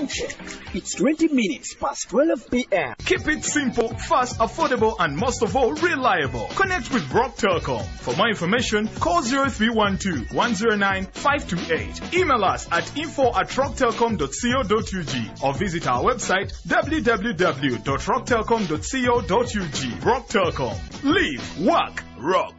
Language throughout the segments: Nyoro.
Time check. It's 20 minutes past 12 p.m. Keep it simple, fast, affordable, and most of all, reliable. Connect with Rock Telcom. For more information, call 0312 109 528. Email us at info@rocktelcom.co.ug or visit our website www.rocktelcom.co.ug. Rock Telcom. Live, work, rock.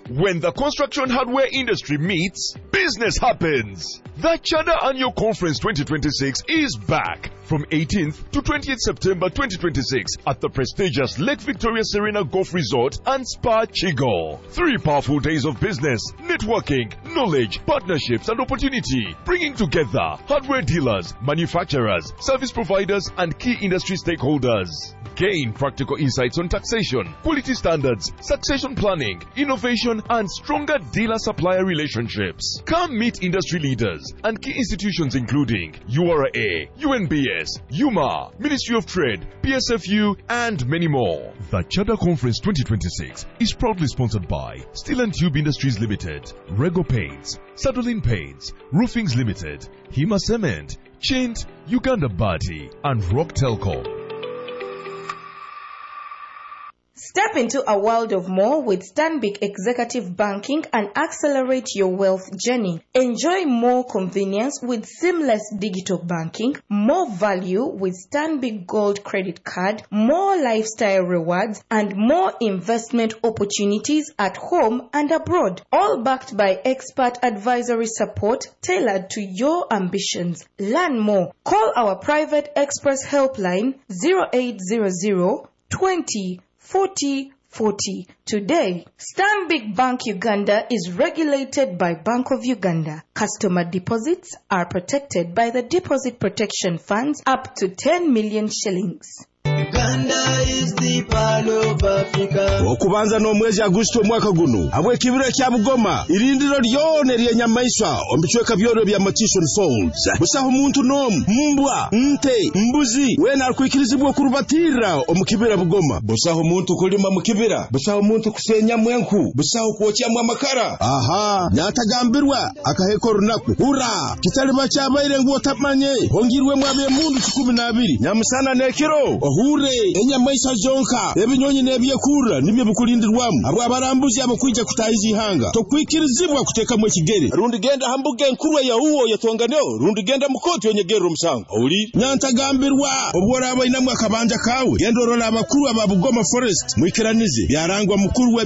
When the construction hardware industry meets, business happens. The Chada Annual Conference 2026 is back from 18th to 20th September 2026 at the prestigious Lake Victoria Serena Golf Resort and Spa Chigo. 3 powerful days of business, networking, knowledge, partnerships, and opportunity, bringing together hardware dealers, manufacturers, service providers, and key industry stakeholders. Gain practical insights on taxation, quality standards, succession planning, innovation, and stronger dealer supplier relationships. Come meet industry leaders and key institutions including URA, UNBS, UMA, Ministry of Trade, PSFU, and many more. The Chada Conference 2026 is proudly sponsored by Steel and Tube Industries Limited, Rego Paints, Sadolin Paints, Roofings Limited, Hima Cement, Chint, Uganda Bati, and Rock Telcom. Step into a world of more with Stanbic Executive Banking and accelerate your wealth journey. Enjoy more convenience with seamless digital banking, more value with Stanbic Gold Credit Card, more lifestyle rewards, and more investment opportunities at home and abroad. All backed by expert advisory support tailored to your ambitions. Learn more. Call our private express helpline 0800 20 40 40. Today, Stanbic Bank Uganda is regulated by Bank of Uganda. Customer deposits are protected by the Deposit Protection Funds up to 10 million shillings. Uganda is the pearl of Africa. Okubanza n'omwezi Agusito omwaka guno, habw'ekibira kya Bugoma, irindiro lyona ery'enyamaiswa omu bicweka byona ebya Murchison Falls, busaho muntu n'omu, mbwa, nte, mbuzi, weena arikwikirizibwa okurubatirra omu kibira Bugoma. Busaho muntu kulima mu kibira, busaho muntu kusenyamu enku, busaho kwokyamu amakara. Aha, nyatagambirwa akaheka orunaku. Hura, kitaliba kyabaire ngu otamanye, hongirwemu ab'emundu 12, nyamusana n'ekiro. Ohure enyamaiswa zonka, ebinyonyi n'ebyekurra nibyo bikulindirwamu. Abo abarambuzi abakwija kutahiza ihanga, tokwikirizibwa kuteekamu ekigere. Rundi genda ha mbuga enkuru eya uwo yetonganeo, rundi genda mu kooti onyegerere omusango. Owulire? Nyantagambirwa obu oraaba oinemu akabanja kawe, genda orole abakuru aba Bugoma Forest, mwikiranize. Byarangwa mukuru.